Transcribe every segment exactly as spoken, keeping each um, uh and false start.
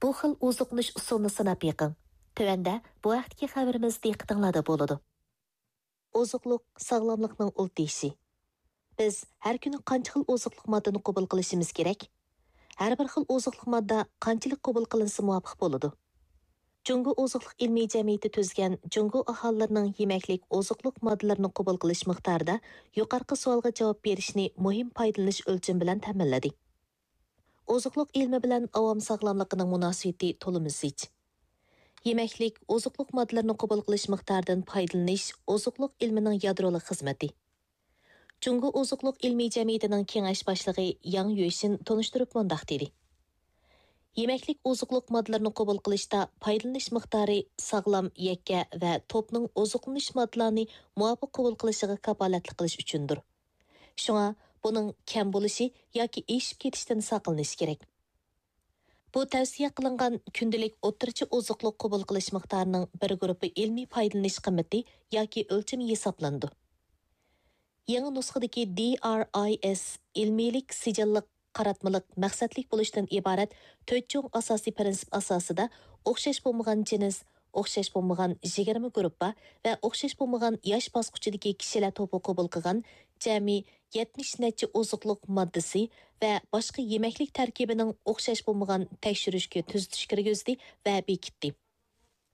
بۇ خىل ئوزۇقلىنىش ئۇسۇلىنى سىناپ بېقىڭ. تۆۋەندە بۇ ھەقتىكى خەۋىرىمىز دىققىتىڭلاردا بولىدۇ. ئوزۇقلۇق ساغلاملىقنىڭ ئۇل تېشى. بىز ھەر كۈنى قانچە خىل ئوزۇقلۇق ماددىنى قوبۇل قىلىشىمىز كېرەك؟ ھەر بىر خىل ئوزۇقلۇق ماددا قانچىلىك قوبۇل قىلىنسا مۇۋاپىق بولىدۇ؟ جۇڭگو ئوزۇقلۇق ئىلمىي جەمئىيىتى تۈزگەن جۇڭگو ئاھالىلىرىنىڭ يېمەكلىك ئوزۇقلۇق ماددىلىرىنى قوبۇل قىلىش مىقدارىدا يۇقىرىقى سوئالغا جاۋاب بېرىشنى مۇھىم پايدىلىنىش ئۆلچىمى بىلەن تەمىنلىدى. ئوزۇقلۇق ئىلمى بىلەن ئاۋام ساغلاملىقىنىڭ مۇناسىۋىتى تولىمۇ زىچ. يېمەكلىك، ئوزۇقلۇق ماددىلىرىنى قوبۇل قىلىش مىقدارىدىن پايدىلىنىش ئوزۇقلۇق ئىلمىنىڭ يادرولۇق خىزمىتى. جۇڭگو ئوزۇقلۇق ئىلمىي جەمئىيىتىنىڭ كېڭەش باشلىقى ياڭ يۈشىن تونۇشتۇرۇپ مۇنداق دېدى: يېمەكلىك ئوزۇقلۇق ماددىلىرىنى قوبۇل قىلىشتا پايدىلىنىش مىقدارى ساغلام، يەككە ۋە توپنىڭ ئوزۇقلىنىش ماددىلارنى مۇۋاپىق قوبۇل قىلىشىغا كاپالەتلىك قىلىش ئۈچۈندۇر. شۇڭا بۇنىڭ كەم بولۇشى ياكى ئېشىپ كېتىشتىن ساقلىنىش كېرەك. بۇ تەۋسىيە قىلىنغان كۈندىلىك ئوتتۇرىچە ئوزۇقلۇق قوبۇل قىلىش مىقدارىنىڭ بىر گۇرۇپپا ئىلمىي پايدىلىنىش قىممىتى ياكى ئۆلچىمى ھېسابلىنىدۇ. يېڭى نۇسخىدىكى دى ئار ئاي ئېس ئىلمىيلىك سىجىللىق قاراتمىلىق مەقسەتلىك بولۇشتىن ئىبارەت تۆت چوڭ ئاساسىي پىرىنسىپ ئاساسىدا ئوخشاش بولمىغان جىنس، ئوخشاش بولمىغان يىگىرمە گۇرۇپپا ۋە ئوخشاش بولمىغان ياش باسقۇچىدىكى كىشىلەر توپى قوبۇل قىلغان جەمئىي يەتمىش نەچچە ئوزۇقلۇق ماددىسى ۋە باشقا يېمەكلىك تەركىبىنىڭ ئوخشاش بولمىغان تەكشۈرۈشكە تۈزىتىش كىرگۈزدى ۋە بېكىتتى.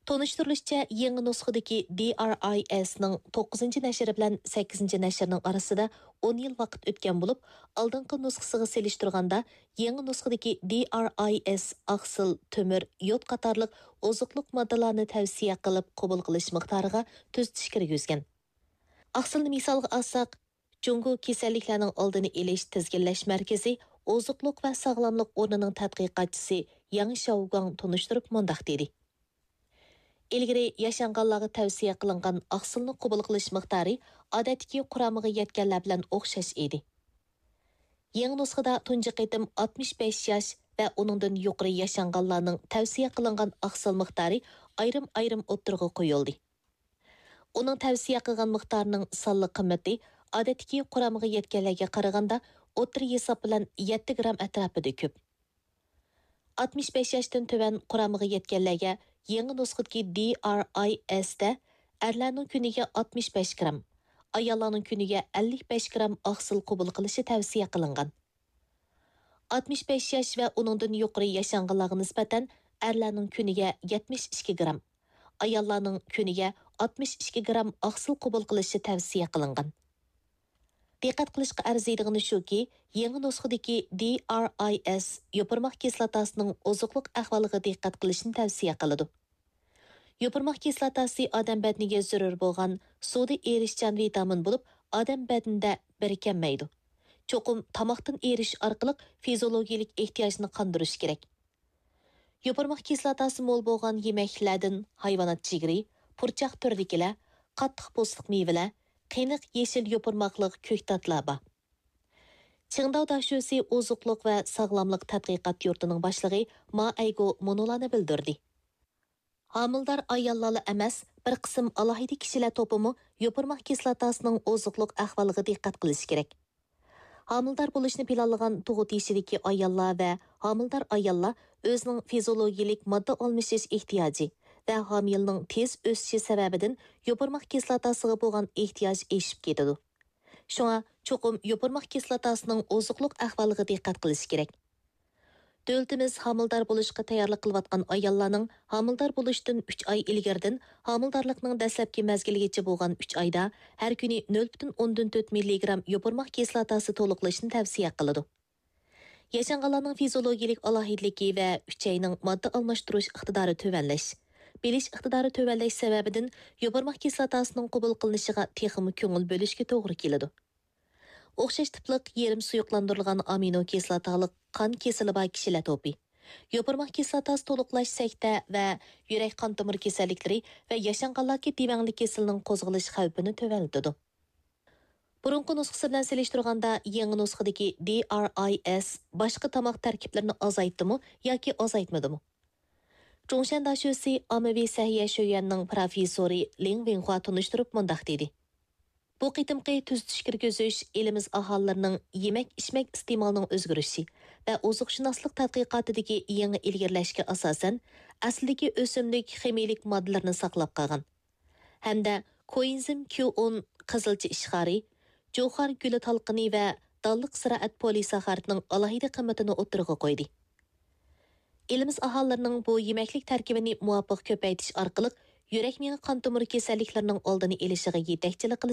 تونۇشتۇرۇلۇشىچە، يېڭى نۇسخىدىكى دى ئار ئاي ئېسنىڭ توققۇزىنچى نەشرى بىلەن سەككىزىنچى نەشرىنىڭ ئارىسىدا ئون يىل ۋاقىت ئۆتكەن بولۇپ، ئالدىنقى نۇسخىسىغا سېلىشتۇرغاندا، يېڭى نۇسخىدىكى دى ئار ئاي ئېس ئاقسىل، تۆمۈر، يود قاتارلىق ئوزۇقلۇق ماددىلارنى تەۋسىيە قىلىپ قوبۇل قىلىش مىقدارىغا تۈزىتىش كىرگۈزگەن. ئاقسىلنى مىسالغا ئالساق، جۇڭگو كېسەللىكلەرنىڭ ئالدىنى ئېلىش تىزگىنلەش مەركىزى ئوزۇقلۇق ۋە ساغلاملىق ئورنىنىڭ تەتقىقاتچىسى ياڭ شياۋگۇاڭ تونۇشتۇرۇپ مۇنداق دېدى: ئىلگىرى ياشانغانلارغا تەۋسىيە قىلىنغان ئاقسىلنى قوبۇل قىلىش مىقدارى ئادەتتىكى قۇرامىغا يەتكەنلەر بىلەن ئوخشاش ئىدى. يېڭى نۇسخىدا تۇنجى قېتىم ئاتمىش بەش ياش ۋە ئۇنىڭدىن يۇقىرى ياشانغانلارنىڭ تەۋسىيە قىلىنغان ئاقسىل مىقدارى ئايرىم-ئايرىم ئوتتۇرىغا قويۇلدى. ئۇنىڭ تەۋسىيە قىلغان مىقدارىنىڭ سانلىق قىممىتى ئادەتتىكى قۇرامىغا يەتكەنلەرگە قارىغاندا ئوتتۇرا ھېساب بىلەن يەتتە گرام ئەتراپىدا كۆپ. ئاتمىش بەش ياشتىن تۆۋەن قۇرامىغا يەتكەنلەرگە يېڭى نۇسخىدىكى دى ئار ئاي ئېس دە ئەرلەرنىڭ كۈنىگە ئاتمىش بەش گرام، ئاياللارنىڭ كۈنىگە ئەللىك بەش گرام ئاقسىل قوبۇل قىلىشى تەۋسىيە قىلىنغان. ئاتمىش بەش ياش ۋە ئۇنىڭدىن يۇقىرى ياشانغانلارغا نىسبەتەن ئەرلەرنىڭ كۈنىگە يەتمىش ئىككى گرام، ئاياللارنىڭ كۈنىگە ئاتمىش ئىككى گرام ئاقسىل قوبۇل قىلىشى تەۋسىيە قىلىنغان. دىققەت قىلىشقا ئەرزىيدىغىنى شۇكى، يېڭى نۇسخىدىكى دى ئار ئاي ئېس يوپۇرماق كىسلاتاسىنىڭ ئوزۇقلۇق ئەھۋالىغا دىققەت قىلىشنى تەۋسىيە قىلىدۇ. يوپۇرماق كىسلاتاسى ئادەم بەدىنىگە زۆرۈر بولغان سۇدا ئېرىشچان ۋىتامىن بولۇپ، ئادەم بەدىنىدە بىرىكەلمەيدۇ. چوقۇم تاماقتىن ئېرىشىش ئارقىلىق فىزىيولوگىيەلىك ئېھتىياجنى قاندۇرۇش كېرەك. يوپۇرماق كىسلاتاسى مول بولغان يېمەكلىكلەردىن ھايۋانات جىگىرى، پۇرچاق تۈرىدىكىلەر، قاتتىق پوستلۇق مېۋىلەر، قېنىق يېشىل يوپۇرماقلىق كۆكتاتلار بار. چىڭداۋ داشۆسى ئوزۇقلۇق ۋە ساغلاملىق تەتقىقات يۇرتىنىڭ باشلىقى ما ئەيگو مۇنۇلارنى بىلدۈردى. ھامىلىدار ئاياللارلا ئەمەس، بىر قىسىم ئالاھىدە كىشىلەر توپىمۇ يوپۇرماق كىسلاتاسىنىڭ ئوزۇقلۇق ئەھۋالىغا دىققەت قىلىشى كېرەك. ھامىلىدار بولۇشنى پىلانلىغان تۇغۇت يېشىدىكى ئاياللار ۋە ھامىلىدار ئاياللار ئۆزىنىڭ فىزىيولوگىيەلىك ماددا ئالمىشىش ئېھتىياجى ۋە ھامىيلىنىڭ تېز ئۆسۈشى سەۋەبىدىن يوپۇرماق كىسلاتاسىغا بولغان ئېھتىياج ئېشىپ كېتىدۇ. شۇڭا چوقۇم يوپۇرماق كىسلاتاسىنىڭ ئوزۇقلۇق ئەھۋالىغا دىققەت قىلىش كېرەك. دۆلىتىمىز ھامىلىدار بولۇشقا تەييارلىق قىلىۋاتقان ئاياللارنىڭ ھامىلىدار بولۇشتىن ئۈچ ئاي ئىلگىرىدىن ھامىلىدارلىقنىڭ دەسلەپكى مەزگىلىگىچە بولغان ئۈچ ئايدا ھەر كۈنى نۆل پۈتۈن ئوندىن تۆت مىللىگرام يوپۇرماق كىسلاتاسى تولۇقلىشىنى تەۋسىيە قىلىدۇ. ياشانغانلارنىڭ فىزىيولوگىيەلىك ئالاھىدىلىكى ۋە ئۈچەينىڭ ماددا ئالماشتۇرۇش ئىقتىدارى تۆۋەنلەش، بىلىش ئىقتىدارى تۆۋەنلەش سەۋەبىدىن يوپۇرماق كىسلاتاسىنىڭ قوبۇل قىلىنىشىغا تېخىمۇ كۆڭۈل بۆلۈشكە توغرا كېلىدۇ. ئوخشاش تىپلىق يېرىم سۇيۇقلاندۇرۇلغان ئامىنو كىسلاتالىق قان كېسىلى بار كىشىلەر توپى. يوپۇرماق كىسلاتاسى تولۇقلاش سەكتە ۋە يۈرەك قان تومۇر كېسەللىكلىرى ۋە ياشانغانلاردىكى دېۋەڭلىك كېسىلىنىڭ قوزغىلىش خەۋپىنى تۆۋەنلىتىدۇ. بۇرۇنقى نۇسخىسى بىلەن سېلىشتۇرغاندا، يېڭى نۇسخىدىكى دى ئار ئاي ئېس باشقا تاماق تەركىبلىرىنى ئازايتتىمۇ ياكى ئازايتمىدىمۇ؟ جۇڭشەن داشۆسى ئاممىۋى سەھىيە شۆيۈەننىڭ پروفېسسورى لىڭ ۋېنخۇا تونۇشتۇرۇپ مۇنداق دېدى. بۇ قېتىمقى تۈزىتىش كىرگۈزۈش ئېلىمىز ئاھالىلىرىنىڭ يېمەك-ئىچمەك ئىستېمالىنىڭ ئۆزگىرىشى ۋە ئوزۇقشۇناسلىق تەتقىقاتىدىكى يېڭى ئىلگىرىلەشكە ئاساسەن، ئەسلىدىكى ئۆسۈملۈك خىمىيىلىك ماددىلىرىنى ساقلاپ قالغان ھەمدە كوئېنزىم كيۇ ئون، قىزىلچا ئىشخارى، جۇخار گۈلى تالقىنى ۋە دانلىق زىرائەت پولىساخارىدنىڭ ئالاھىدە قىممىتىنى ئوتتۇرىغا قويدى. ئېلىمىز ئاھالىلىرىنىڭ بۇ يېمەكلىك تەركىبىنى مۇۋاپىق كۆپەيتىش ئارقىلىق يۈرەك مېڭە قان تومۇر كېسەللىكلىرىنىڭ ئالدىنى ئېلىشىغا يېتەكچىلىك قىلىش